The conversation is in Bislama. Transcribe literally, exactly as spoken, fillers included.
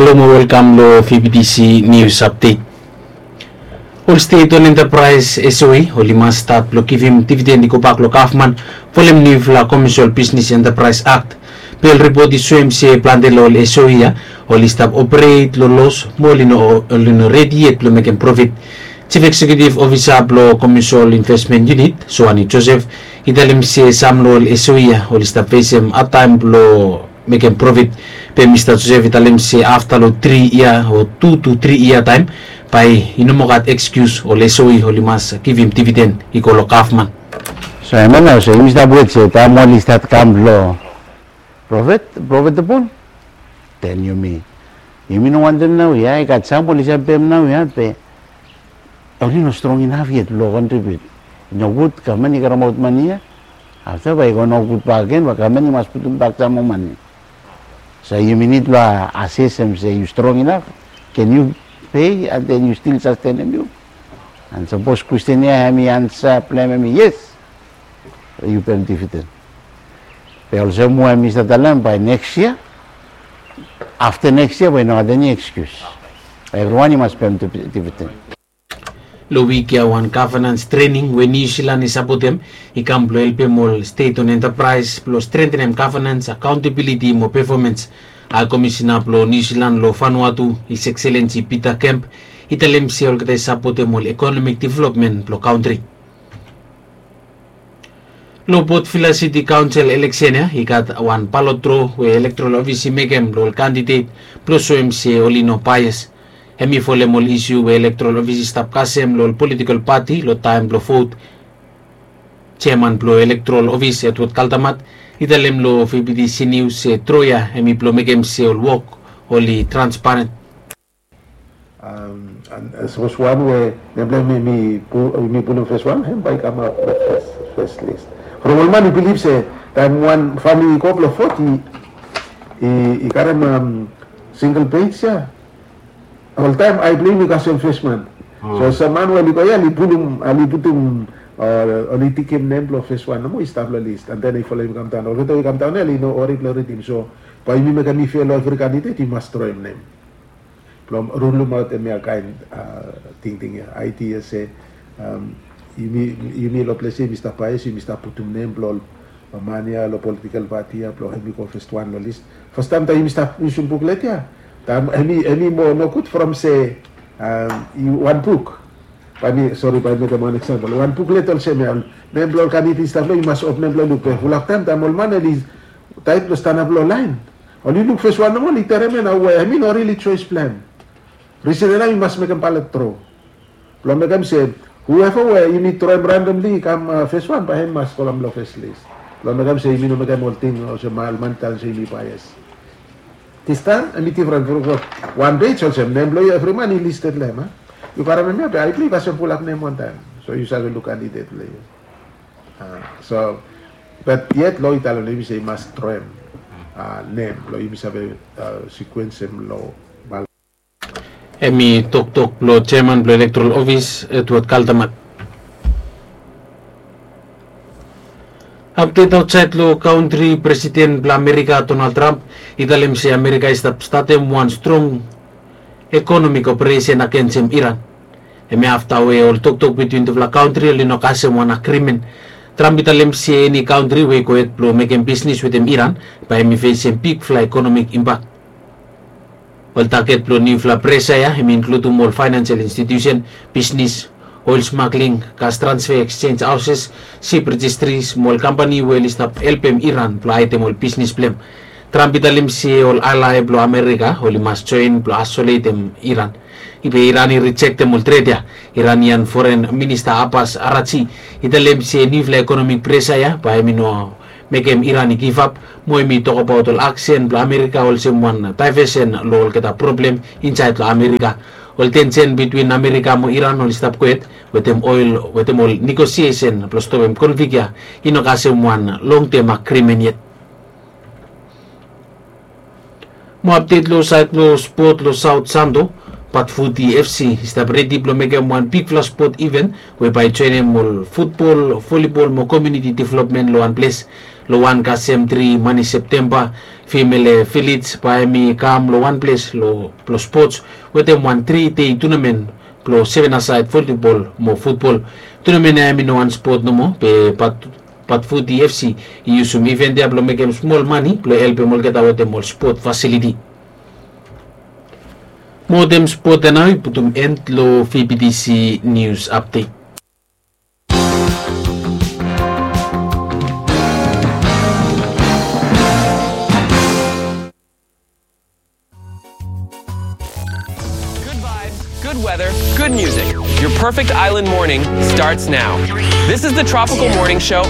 Halo mo welkam lo V B T C News Update. Ol state on enterprise S O E oli mas stat blo givim dividen i gobak lo gavman folem niufala Commercial Business Enterprise Act. Be ol ripot i soem se plante lo ol S O E ya oli stap operet lo los mo oli no redi yet blo mekem profit. Chief Executive Officer blo Commercial Investment Unit, Soani Joseph, i talem se sam lo ol S O E ya oli stap fesem hadtaem blo mekem profit. Be Mista Joseph i talem se afta lo tri yia o tu tu tri yia taem, bae i no moa gat ekskius, ol S O E oli mas givim dividen i go lo gavman. So hemia nao, so yumi stap wet se taem oli stat kam lo profit, profitable, then yumi, yumi no wantem naoia. I gat sam oli save pem naoia be oli no strong inaf yet blo kontribiut. I nogud gavman i karemaot mane ya, afta bae i go nogud bakegen, bae gavman i mas putum bak sam moa mane. So yumi nid blo asesem se yu strong inaf, can yu pei and then yu stil sastenem yu? And sapos kwestin ya hemi ansa blong hem hemi yes, yu pem dividen. Be olsem we mi stap talem, bae neks yia, afta neks yia bae i no gat eni ekskius. Evriwan i mas pem dividen. Lo wik ya wan gavenans trening we Niu Silan i sapotem i kam blo helpem ol state on enterprise blo strentenem gavenans, akaontabiliti mo pefomans. Hae Komisina blo Niu Silan lo Vanuatu, His Excellency Peter Kemp, i talem se olgeta i sapotem ol ekonomik developmen blo kantri. Lo Port Vila City Council eleksen ya i gat wan balot dro we elektoral ofis i mekem lo ol kandidet blo soem se oli no baes. Hemi folem ol isu we elektoral ofis i stap kasem lo ol politikol pati lo taem blo vot. Jeaman blo elektoral ofis, Edward Kaltamat, i talem lo V B T C News se dro ya hemi blo mekem se ol wok oli transparen. Sapos wan we nem blo hem i pulum fes wan, hem bae i kamaot lo fes lis. From ol man i bilif se taem wan famili i go blo vot, i karem singel pej ya, oltaem ae blo hem i kasem fes man. So sam man we oli go ya oli pulum, oli putum, oli tikim nem blo fes wan nomo i stap lo lis, and then i folem i kamdaon. Olgeta we i kamdaon ya oli no wari blo ridim. So bae yumi mekem i fea lo evri kandidet i mas droem nem. Blong rulumaot hemia kaen tingting ya, aedia se yumi, yumi lo ples ya yumi stap baes, yumi stap putum nem blong ol man ya lo politikol pati ya blong hemi go fes wan lo lis. Fastaem taem yumi stap yusum buklet ya, taem hemi, hemi moa nogud from se wan buk. Bae mi, sori, bae mi mekem wan eksampol. Wan buklet olsem ya, nem blong ol kandided i stap long, yu mas opnem blong luk. Be fulap taem, taem ol man oli taet blong stanap long laen, oli luk fes wan nomo, oli terem ya nao we hemi no rili joes blong hem. Risen ya nao yu mas mekem balet dro blong mekem se whoever we yumi droem randomli i kam fes wan, bae hem mas go long fes lis blong mekem se yumi no mekem ol ting olsem ol man i talem se yumi baes. This time hemi difren from wan pej olsem nem blong yu evri man i listed long hem. Yu karem hemia be ae blong yu kasem fulap nem wantaem, so yu save luk kandidet blong yu. So, but yet lo i talem long yumi se i mas droem nem blong yumi save sikuensem lo balot. Hemi toktok blong jeaman blong elektoral ofis, Edward Kaltamat. Apdet aotsaed lo kantri, Presiden blong Amerika, Donald Trump, i talem se Amerika i stap statem wan strong ekonomik operesen agensem Iran. Hemia afta we ol toktok bitwin tufala kantri oli no kasem wan agrimen. Trump i talem se eni kantri we i gohed blong mekem bisnis wetem Iran, bae hemi fesem bigfala ekonomik impak. Ol taget blong niufala presa ya hemi inkludim ol faenensel institiusen, bisnis, oel smagling, gas transfe, eksenj haoses, sip rejistris mo ol kampani we oli stap helpem Iran blong haedem ol bisnis blong hem. Trump i talem se ol alae blong Amerika oli mas joen blong aesoletem Iran. Be Iran i rijektem ol tret ya. Iranian Foren Minista Abbas Arachi i talem se niufala ekonomik presa ya bae hemi no mekem Iran i givap, mo hemi tokbaot ol aksen blong Amerika olsem wan daevesen long olgeta problem insaed long Amerika. Ol tensen bitwin Amerika mo Iran oli stap gohed wetem ol, wetem ol negosiesen blong stopem konflik ya i no kasem wan longtem agrimen yet. Mo apdet long saed blong spot long Saot Santo, Patfuti F C i stap redi blong mekem wan bigfala spot iven we bae i joenem ol futbol, volibol mo komuniti developmen long wan ples. Long wan kasem tri mani Septemba, Female Village bae hemi kam long wan ples blong spots wetem wan tri dei tunamen blong seven a saed volibol mo futbol. Tunamen ya hemi no wan spot nomo be Patfuti FC i yusum iven ya blong mekem smol mani blong helpem olgeta wetem ol spot fasiliti. Mo wetem spot ya nao i putum en long VBTC nius apdet. Good vibes, good weather, good music. Your perfect island morning starts now. This is the Tropical Morning Show.